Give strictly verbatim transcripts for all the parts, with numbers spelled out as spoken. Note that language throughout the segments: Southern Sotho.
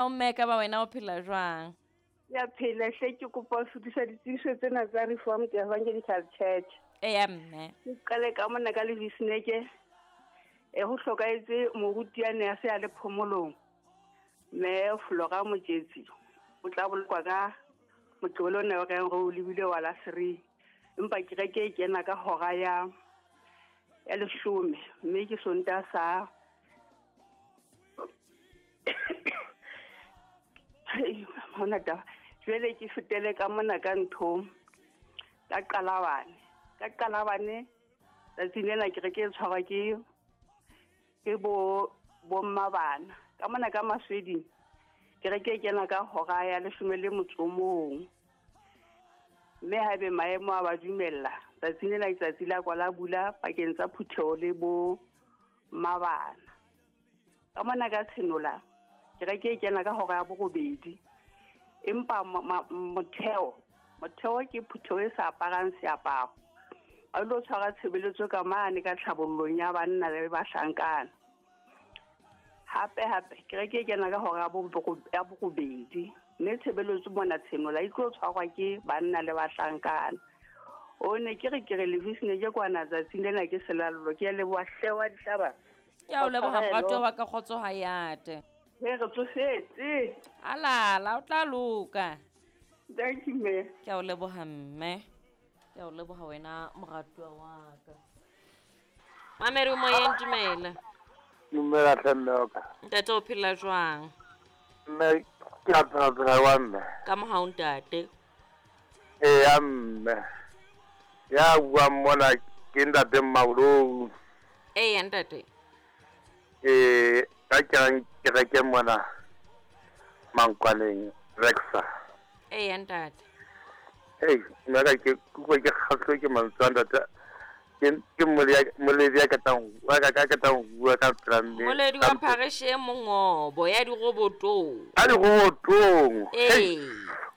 Mme ka ba wena o phela jwang? Ya phela hle, ke kopa ho fetisa ditsebiso tsena tsa Reformed Evangelical Church. Eya mme. Ke qale ka mona ka Levisneke. E ho hlokahetse moruti ya ne a se a le phomolong. Mme Flora Mojetsi o tla bolokwa ka Moqebelo ona o reng re o lebile wa la three. Empa kereke e kena ka hora ya ya leshome, mme ke Sontaha sa hona taba. Jwale ke fetele ka mona ka nthong ka Qalabane. Ka Qalabane tsatsing lena kereke e tshwarwa ke ke bo bomma bana. Ka mona ka Masweding kereke e kena ka hora ya leshome le motso o mong. Mme haebe maemo a ba dumella, tsatsing lena letsatsi la kwala bula pakeng tsa phutheho le bo mabana. Ka mona ka Tshenola kereke e kena ka hora ya borobedi. Empa motheo, motheo ke phutheho e sa aparang seaparo. Ba lo tshwara tshebeletso ka mane ka tlhabollong ya banna le bahlankana. Hape hape kereke e kena ka hora ya borobedi. Mme tshebeletso mona Tshenola e tlo tshwarwa ke banna le bahlankana. O ne ke re ke re Levisne ke kwana tsatsing lena ke selallo. Ke a leboha hle wa dihlaba. Ke a o leboha morato wa ka, kgotso ha yate. Re re tsofetse. Alala, o tla loka. Thank you mme. Ke a o leboha mme. Ke a o leboha wena moratuwa wa ka. Mamedi o moyeng, dumela. Dumela hle mme wa ka. Ntate o phela jwang? Mme ke a phela phela wa mme. Ka mohau ntate. Eya mme. Ya buang mona ke ntate Mmabolou. Eya ntate. Eh, ka kereng kereke mona Mankwaneng Rexa. Eya ntate. Hey, nna ka ke kutlwa ke kgahlwe ke mantswe a ntate. Ke ke moledi ya katang wa ka ka katang bua ka pela mme. Moledi wa parish e mongobo ya dirobotong. A dirobotong. Ee.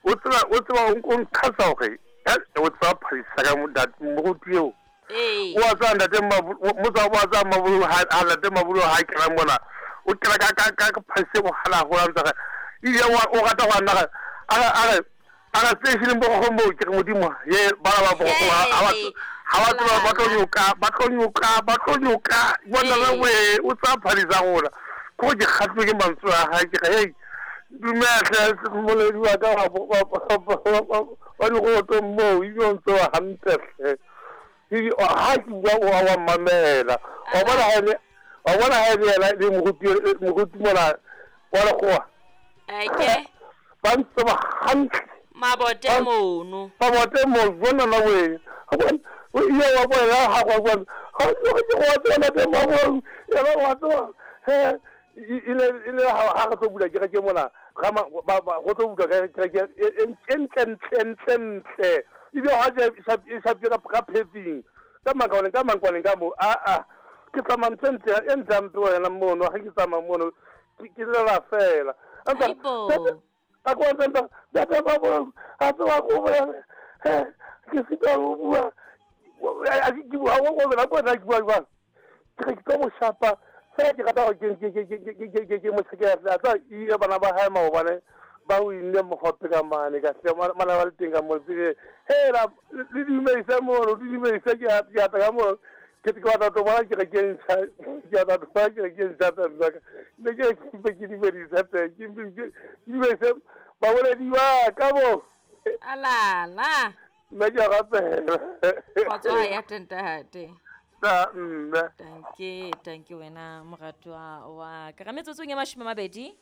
O tseba o tseba o nkhasa hore o tseba pharisa ka ntate moruti eo. Ee. O a tseba ntate Motsa o a tseba Mabulu ha ntate Mabulu ha kena mona. O kena ka ka ka pharisa bohala ho ntse. Ile o rata go nna a a re a re station bo go mo ke modimo ye ba ba bo go ha ba ha ba tseba ba tlo nyoka ba tlo nyoka ba tlo nyoka bona ba we o tsa pharisa gona ko ke kgatlwe ke mantswe a hae ke hey dumela moledi wa ka wa wa di go to mo e yo ntse wa hantle hle ha ke bua o wa mamela wa bona ha le wa bona ha le le moruti moruti mona wa le goa eke ba ntse ba hantle mabote mono mabote mo bona na we o ile wa bona ha go bona ha go go tsena te mabong ya ba wa tsoa he ile ile ha re tlo bula kereke mona ga ba go tlo bula kereke e ntle ntle ntle ntle ile ha je e sa ka phetsing ka makaone ka mankwaneng ka mo a a ke tsamaya ntle ntle e ntsampe wena mono ha ke tsamaya mono ke lela fela a go ntse ba ba ba a tsoa go bua ke sita go bua a ke bua go go bela go nna ke bua jwang ke re ke tlo mo shapa fela ke rata gore ke ke ke ke ke ke mo tshekela tsa ile bana ba hae maobane ba o inne mogope ka mane ka hle mana ba le teng ka mo tsile hela le dumeise mono le dumeise ke a ke a ka mo ke ke batla to bona ke re ke ntsha ke batla to bona ke re ke ntsha tsa ka ne ke ke ke dumedisa tse ke ke dumeise baboledi wa ka bo alala nna ke a rapela kgotso ya ntate ta nna tanke tanke wena moratuwa wa ka metsotsong ya mashome a mabedi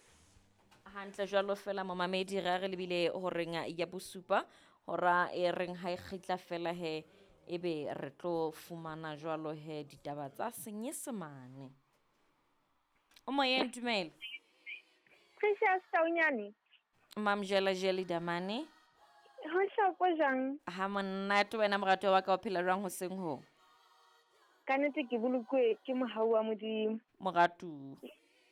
hantle jwalo fela momamedi re re lebile horeng ya bosupa hora e reng ha e kgitla fela he ebe re tlo fumana jwalo he ditaba tsa Senyesemane. O moyeng, dumela. Precious Taunyane. Mamjela Jeli Damane. Ho hloko jang? Ha monate wena moratuwa wa ka o phela jwang hoseng ho? Ka nnete ke bolokwe ke mohau wa Modimo. Moratu.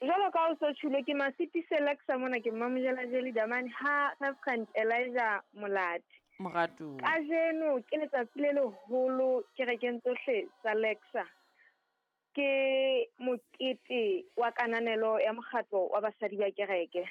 Jwalo ka o so tjhule ke Masiti Selexa mona ke Mamjela Jeli Damane ha Reverend Elijah Molati. Moratu. Kajeno ke letsatsi le leholo kerekeng tsohle tsa Lexa. Ke mokete wa kananelo ya mokgatlo wa basadi ba kereke.